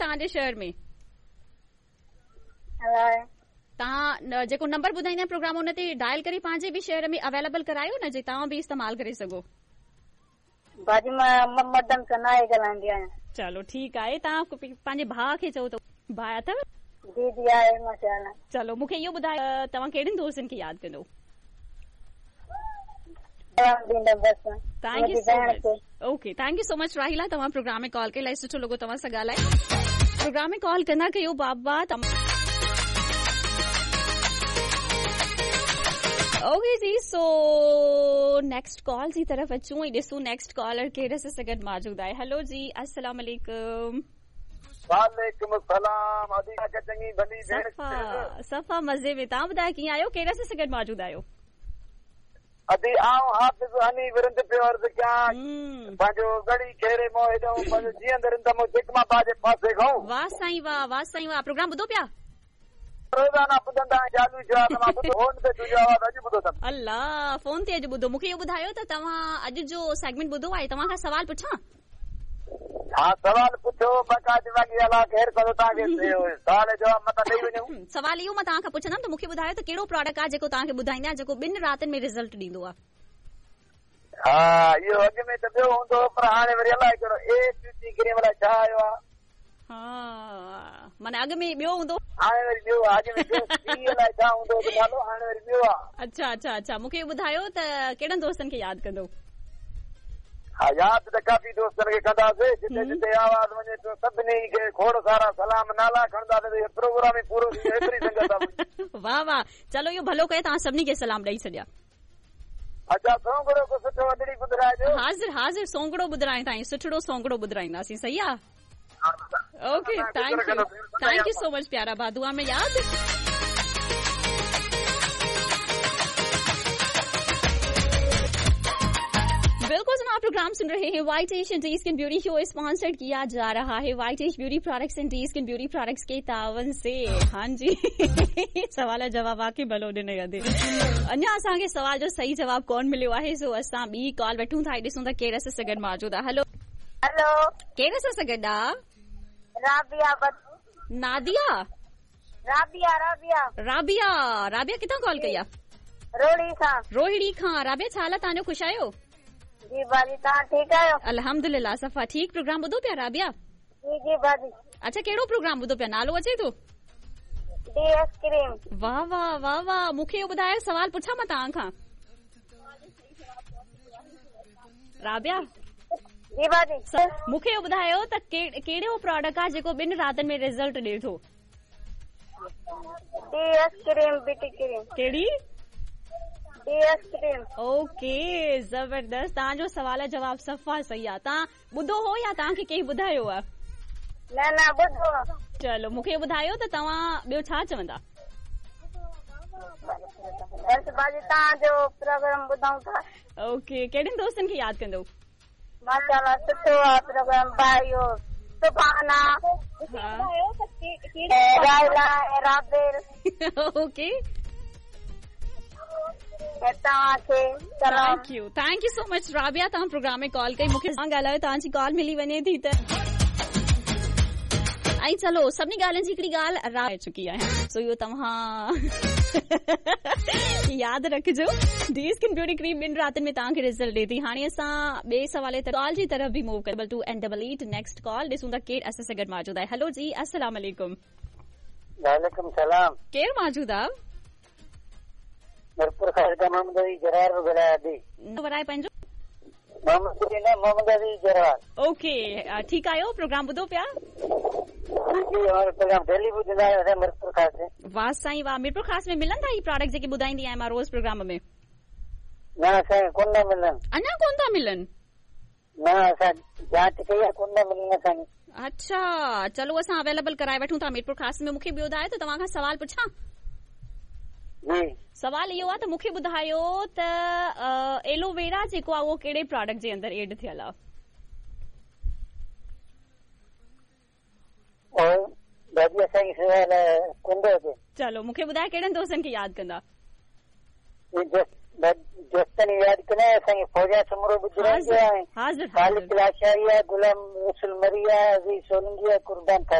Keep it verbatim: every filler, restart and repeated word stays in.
तव्हांजे शहर में? तव्हां जेको नंबर ॿुधाईंदा प्रोग्राम उन ते डायल करे पंहिंजे बि शहर में अवेलेबल करायो न, जे तव्हां बि इस्तेमालु करे सघो। भाॼी मां मर्दनि सां न ॻाल्हाईंदी आहियां। चलो ठीकु आहे, तव्हां पंहिंजे भाउ खे चओ त भाउ अथव? जी जी आहे माशाअल्लाह। चलो मूंखे इहो ॿुधायो तव्हां कहिड़नि दोस्तनि खे यादि कंदो? Thank you so much. Okay, thank you so much Rahila, तव्हां प्रोग्राम में कॉल कई, इलाही सुठो लॻो तव्हां सां ॻाल्हाए। प्रोग्राम में कॉल कंदा कयो बाबा। ओके जी, सो नेक्स्ट कॉल जी तरफ़ अचूं ऐं ॾिसूं नेक्स्ट कॉलर केरु असां सां गॾु मौजूदु आहे। हेलो जी, अस्सलाम वालेकुम। वालेकुम सलाम। चङी भली भेण? सफ़ा सफ़ा मज़े में। तव्हां ॿुधायो कीअं आहियो, केरु असां सां गॾु मौजूदु आहियो? अदी आउं हाफ़िज़ हनी विरंद पियो अर्ज़ कयां, पंहिंजो गड़ी खेरे मों हेॾो पंहिंजो जीअंद रिंद मों जेकमा जे पासे खां। वाह साईं वाह, वाह साईं वाह। प्रोग्राम ॿुधो पिया? रोज़ाना ॿुधंदा आहियूं, चालू थियो आहे त मां ॿुधो, फोन ते तुंहिंजो आवाज़ अॼु ॿुधो अथमि। अल्लाह, फोन ते अॼु ॿुधो। मूंखे इहो ॿुधायो त तव्हां अॼु जो सेगमेंट ॿुधो आहे, तव्हां खां सवाल पुछां? हा सवाल पुछो, बाक़ाइदे बाक़ी अलाह ख़ैर कंदो तव्हांखे, सवाल जवाब मथां ॾेई वञूं। सवाल इहो मां तव्हां खां पुछंदमि त मूंखे ॿुधायो त कहिड़ो प्रोडक्ट आहे जेको तव्हांखे ॿुधाईंदा आहिनि जेको ॿिनि रातियुनि में रिज़ल्ट ॾींदो आहे? हा इहो अॻु में त ॿियो हूंदो हो, पर हाणे वरी अलाए कहिड़ो ए ब्यूटी क्रीम अलाए छा आयो आहे। हा माना अॻु में ॿियो हूंदो, हाणे वरी ॿियो आहे। अॻु में ॿियो सी अलाए छा हूंदो हो नालो, हाणे वरी ॿियो आहे। अच्छा अच्छा अच्छा, मूंखे ॿुधायो त कहिड़नि दोस्तनि खे यादि कंदो? हा यादि त काफ़ी दोस्तनि खे कंदासीं, जिते जिते आवाज़ वञे थो सभिनी खे खोड़ सारा सलाम नाला खणंदासीं, प्रोग्राम ई पूरो थी वियो, एतिरी संगत आहे। वाह वाह, चलो इहो भलो कयो तव्हां सभिनी खे सलाम ॾेई छॾिया। अच्छा सोंगड़ो को सुठो वॾड़ी ॿुधाइजो। हाज़िर हाज़िर, सोंगड़ो ॿुधाइण ताईं सुठड़ो सोंगड़ो ॿुधाईंदासीं, सही आहे? Okay, thank you, thank you so much प्यारा भा, दुआ में याद। बिल्कुल जनाब, प्रोग्राम सुन रहे हैं white Asian D skin beauty show, sponsored किया जा रहा है white Ash beauty products and D skin beauty products के तावन से। हाँ जी, सवाल जवाब आके भलो ॾिनो अदे। अञा असांखे सवाल जो सही जवाब कोन मिलियो आहे, सो असां ॿी कॉल वठूं था, ॾिसूं था केरु असां सां गॾु मौजूदु आहे। हेलो हेलो, केरु असां सां गॾु आहे? राबिया। नादिया? राबिया राबिया राबिया राबिया किथां कॉल कई आहे? रोहिड़ी खां। रोहिड़ी खां। राबिया छा हाल आहे तव्हांजो, ख़ुशि आहियो? जी भाजी, तव्हां ठीकु आहियो? अल्हम्दुलिल्लाह सफ़ा ठीक। प्रोग्राम ॿुधो पिया राबिया? जी जी भाजी। अच्छा कहिड़ो प्रोग्राम ॿुधो पिया, नालो अचे थो? D S cream. वाह वाह वाह वाह, मूंखे इहो ॿुधायो, सवाल पुछां मां तव्हां खां? राबिया जी भाजी, मूंखे इहो ॿुधायो त कहिड़ो प्रोडक्ट आहे जेको ॿिनि रातियुनि में रिज़ल्ट ॾिए थो? D S cream, beauty cream. कहिड़ी? D S cream. Okay ज़बरदस्त, तव्हांजो सवाल जवाब सफ़ा सही आहे। तव्हां ॿुधो हो या तव्हांखे कंहिं ॿुधायो आहे? न न ॿुधो। चलो मूंखे ॿुधायो त तव्हां ॿियो छा चवंदा? बसि भाजी तव्हांजो प्रोग्राम ॿुधूं था। ओके, कहिड़नि दोस्तनि खे यादि कंदो? माशाअल्लाह सुठो आहे प्रोग्राम भाई, इहो सुभाना राइला राबेल। ओके तव्हांखे thank you, thank you so much Rabia, तव्हां प्रोग्राम में कॉल कई, मूंखे ॻाल्हायो, तव्हांजी कॉल मिली वञे थी त। ऐं चलो सभिनी ॻाल्हियुनि जी हिकिड़ी ॻाल्हि राय चुकी आहियां, सो इहो तव्हां यादि रखिजो। डी स्किन ब्यूटी क्रीम ॿिनि रातियुनि में तव्हांखे रिज़ल्ट ॾिए थी। हाणे असां ॿिए सवाल ते कॉल जी तरफ़ बि मूव कयूं, double two and double eight next call ॾिसूं था केरु असां सां गॾु मौजूदु आहे। हेलो जी, अस्सलाम वालेकुम। वालेकुम सलाम। केरु मौजूदु आहे? मीरपुर ख़ास खां मोहम्मद अली जरार पियो ॻाल्हायां थी। वराए पंहिंजो? मोहम्मद अली न, मोहम्मद अली जरार। ओके ठीकु आहियो, प्रोग्राम ॿुधो पिया? जी प्रोग्राम डेली ॿुधंदा आहियूं असां मीरपुर ख़ास में। वाह साईं वाह, मीरपुर ख़ास में मिलनि था ही प्रोडक्ट जेके ॿुधाईंदी आहियां मां रोज़ प्रोग्राम में? न असांखे कोन था मिलनि। अञा कोन था मिलनि? न असां जांच कई आहे, कोन था मिलनि असांखे। अच्छा चलो असां अवेलेबल कराए वठूं था मीरपुर ख़ास में। मूंखे ॿियो ॿुधायो त तव्हां खां सवाल पुछां? जी सवाल इहो आहे त मूंखे ॿुधायो त एलोवेरा जेको आहे उहो कहिड़े प्रोडक्ट जे अंदरि एड थियल आहे? दादी असांखे सवाल कोन थो अचे। चलो मूंखे ॿुधायो कहिड़नि दोस्तनि खे यादि कंदा? दोस्तनि यादि कंदा असांखे फौजा सुमरो ॿुधाईंदो आहे, हाज़िर खालिद लाशारी आहे, गुलाम रसूल मरी आहे, अज़ीज़ सोलंगी आहे, कुर्बान था।